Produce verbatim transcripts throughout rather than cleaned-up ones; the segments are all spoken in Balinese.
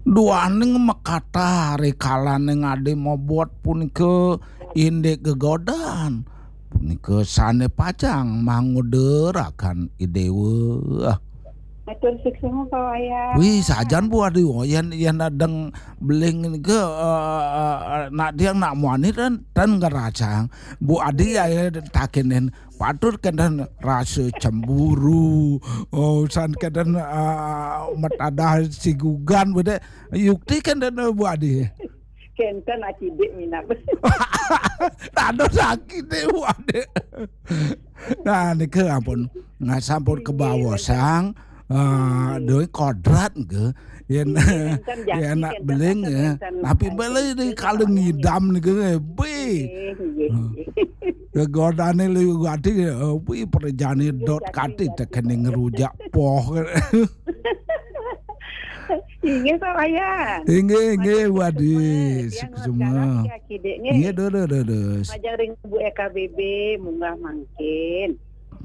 Duaning makata rikalaning adi mabot punika indik gegodan. Punika sane pacang mangudaraken idewa. Matur suksma, Pak Wayan. Wih, sajan Bu Adi, oh, yen, yen adeng beling nika, eh, eh, eh, nak diang nak muani ten, ten ngerasang. Bu Adi ya, ya takinin, patut kenten rasa cemburu, oh, san kenten, eh, metadah sigugan bede. Yukti kenten, eh, Bu Adi. Kenten akidik minap. Tado sakit deh, Bu Adi. Nah, nika ampun. Nah, sampun kebawosang, eh, doi kodrat ke. Yen, yen anak beling, ya. Tapi beli di kalau ngidam nika, eh, bi. Nggih, nggih, nggih. Gegodane liwat ati, eh, bi perjane dot kati tekene ngerujak poh. Inggih, Pak Wayan. Inggih, inggih, Bu Adi. Tiang suksma. Nggih, durus, durus. Majeng ring Bu E K B B, munggah mangkin.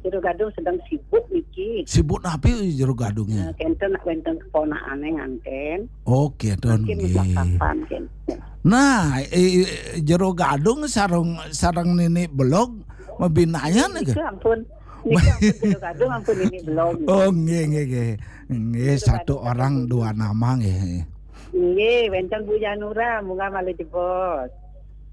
Jero Gadung sedang sibuk niki. Sibuk napi Jero Gadunge? Eh, kenten nak wenten keponakane nganten. Oke, Don, nggih. Mungkin satapan, kenten. Nah, eh, Jero Gadung sareng, sareng Nini Belog mabinayan nggih. Nika ampun. Nika ampun Jero Gadung, ampun Nini Belog. Oh, nggih, nggih, nggih. Nggih, satu orang dua nama nggih. Nggih, wenten Bu Janura, munggah malih jebos.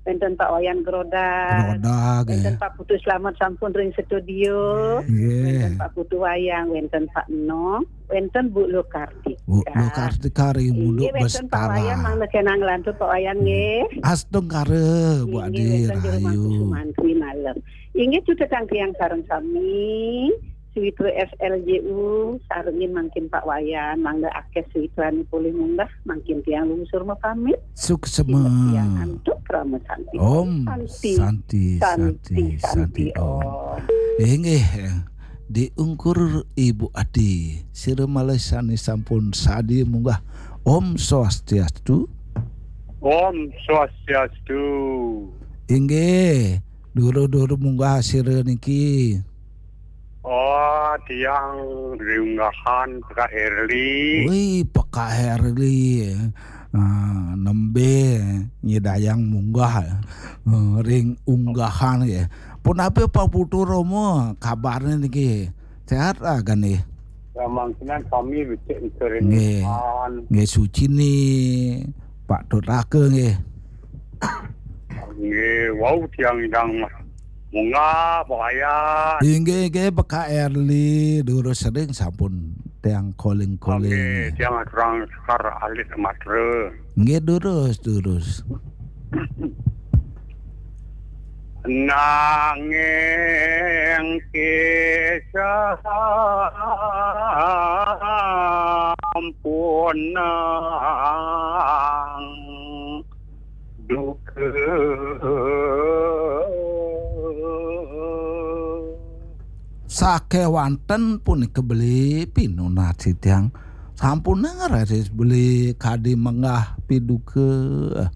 Wenten Pak Wayan Grodag. Grodag, nggih. Wenten Pak Putu Slamet sampun ring studio. Nggih. Wenten Pak Putu Wayang, wenten Pak Enong, wenten Bu Luh Kartika. Bu Luh Kartika ring Munduk Bastara. Nggih, wenten Pak Wayan, mangda kenang lantur Pak Wayan, nggih. Astungkara, Bu Adi, rahayu. Nggih, wenten Jero Mangku Sumantri malem. Inggih, cutetang tiang sareng sami. Suwitra S L J U, sarengin mangkin Pak Wayan, mangda akeh suwitrane polih munggah, mangkin tiang lungsur mapamit. Suksema. Sineb tiang antuk krama santi. Om Santi, Santi, Santi, Santi, Santi, Om. Om. Inggih, diungkur Ibu Adi, sira malih sane sampun sadia munggah. Om Swastiastu. Om Swastiastu. Inggih, duru-duru munggah sira niki. Oh, tiang riunggahan Pekak Herli. Wih, Pekak Herli. Ah, nembe nyidayang munggah, eh, ring unggahan ya. Punapi Pak Putu Romo, kabarnya niki? Sehat lah kan nih? Ya, mangkinan kami becik nika ring unggahan. Nggih, suci nih, Pak Tut Raka nggih. Nggih, wau tiang idang munggah, Pak Wayan. Inggih, inggih, Pekak Herli, durus sering sampun tiang calling-calling. Nggih, tiang aturang sekar alit matra. Nggih, durus, durus. Nanging kisah ampunang duka. Sakewanten punika beli pinunas titiang. Sampun ngraris beli kadi menggah piduka.